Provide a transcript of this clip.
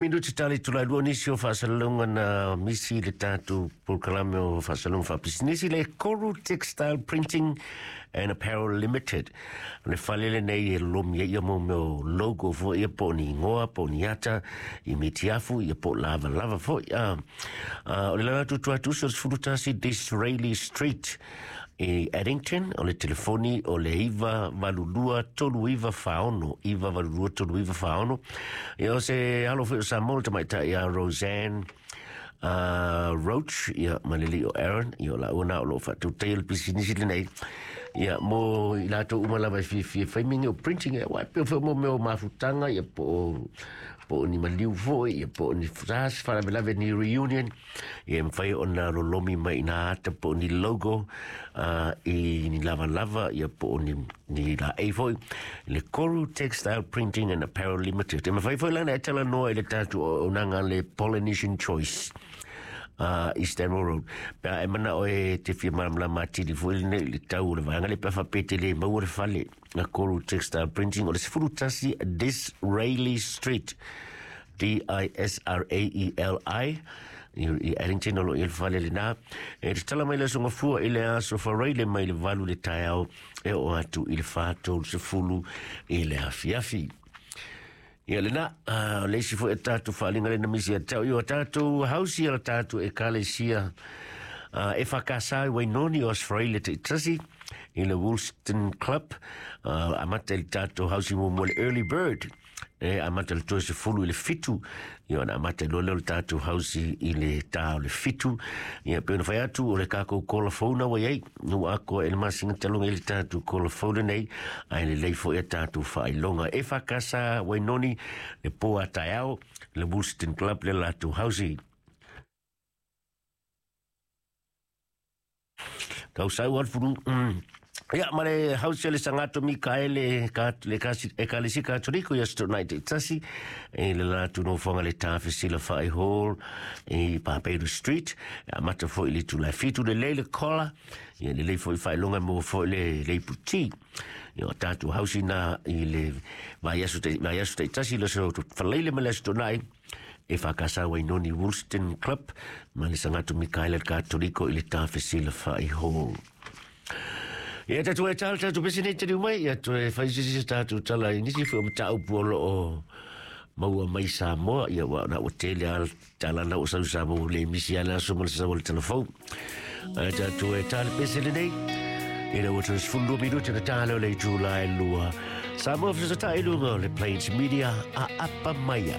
Minuti tali tulai lua nisi o faasalalauga na misi i le tatou polokalame o faasalalauga faapisinisi le Koru Textile Printing and Apparel Limited. O le fale lenei e lomi ai ia mo mea o logo foi ia po o ni igoa po o ni ata i metiafu ia po o lavalava foi. O le lala atu atu uso o le 11 Disraeli Street i Addington, o le telefoni o le 982 3946, 982 3946. Ia o se alo foi o Samoa le tamaitai ia Roseanne Roach, ia ma le alii o Aaron, ia o laua na o lo o faatautaia le pisinisi lenei. Ia mo i latou uma lava e fiafia e fai mea nei o printing, ia aua e pei foi mo mea o mafutaga, ia po o ni maliu foi, ia po o ni se faalavelave ni reunion, Ia e mafai ona lolomi mai i nā ata po o ni logo i ni lavalava ia po o ni, ni laei foi. Le Koru Textile Printing and Apparel Limited. E mafai foi lana e talanoa i le tatou auaunaga le Polynesian Choice i Stanmore Road. Pe a e manao e te fia malamalama atili foi lenei i le tau o le vaega lea pe a faapea e te le maua le fale a Koru Textile Printing o le 11 Disraeli Street. D-I-S-R-A-E-L-I i Addington o lo o i ai le fale lenā. E tatala mai le aso Gafua i le aso Faraile mai le 8 i le taeao e oo atu i le 4:30 i le afiafi. Ia lenā, o le isi foi o tatou faaaliga lena misi ia te au, ia o tatou hausi a le tatou Ekalesia EFKS i Wainoni o aso Faraile taitasi i le Woolston Club, amata i le tatou hausi muamua le Early Bird. E amata le 30 i le 7, ia ona amata loa lea o le tatou hausi i le ta o le 7. Ia pei ona fai atu o le tatou kola fou na ua i ai, ua atoa i le masina talu ai le tatou kola fou lenei, ae lelei foi a tatou faailoga. EFKS Wainoni, le po a taeao, le Woolston Club le latou hausi. Tau sau al furu. Ia, ma le hausi o le Sangato Mikaele, ka, le kasi, Ekalesi Katoliko ia Saturday Night tasi, e le latu nofoaga le Tafesila Whai Hall i Paperu Street. E amata foi le itula e 7 lelei le kola, ia lelei foi faailoga mo foi le leiputi. Ia o tatou hausi na i le vaiaso vaiaso taitasi, le aso Faleile ma le aso Toonai, e whakasau Wainoni Woolston Club ma le Sangato Mikaela Katoliko i le Tafesila Whai Hall. Ia tatu e tala tatu pese nei tali mai, ia toe whai sisi se tātou tala i nisi foi o mataupu o loo maua mai Samoa, ia ua na ua tele a tala na ua sau Samoa le misi ala aso ma le sau o le telefou. Ai tātou e tala pese lenei, ina ua 32 minuti na tāleo le itula e lua. Samoa fesotai i luga o le Plains Media a apa maia.